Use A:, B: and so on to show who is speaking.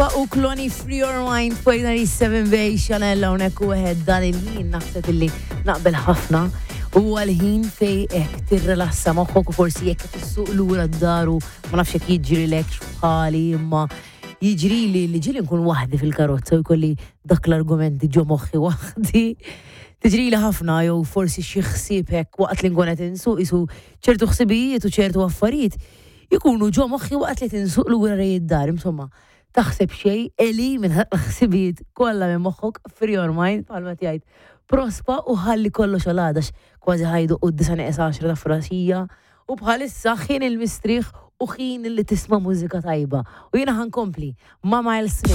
A: Prospa u Kloni Free Your Mind fuq 97 Bay Chanel hawnhekk u wieħed dan il-ħin naħseb illi naqbel ħafna u għal-ħin fej hekk tirrelassa moħħok u forsi jekk qed issuq lura d-daru ma nafx jekk jiġrilek bħali imma jiġrili li ġieli nkun waħdi fil-karozza u jkolli dak l-argumenti ġo moħħi waħdi. Tiġrili ħafna jew forsi xi ħsieb hekk waqt li nkun qed insuq isu ċertu ħsibijiet u ċertu affarijiet Ikunu ġo moħħi waqt li tinsuq lura lejn id-dar, insomma, taħseb xejn, elimina l-ħsibijiet kollha minn moħħok, free your mind, bħalma qed jgħid Prospa u ħalli kollox għal għada għax kważi ħa jdoqqu d-disgħa nieqes għaxra ta' filgħaxija u bħalissa ħin il-mistrieħ u ħin li tisma' mużika tajba. U jiena ħa nkompli ma' Miles Smith.